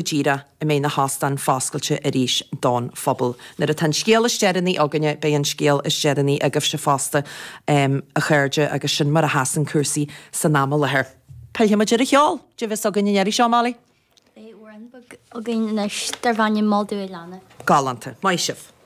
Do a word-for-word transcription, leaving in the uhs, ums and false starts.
díreach a mbeidh na hóstáin foscailte arís don phobal. Nuair atá an scéal is deireanaí againne, beidh an scéal is deireanaí agaibhse fosta, a chairde, agus sin mar a sheasann cúrsaí san am i láthair. Pillfidh muid ar an cheol, cad é a bheas againn an iarraidh seo, Molly? Beidh amhrán beag againn anois darb ainm Mol Dubh a Leanna. Galánta. Maith sibh.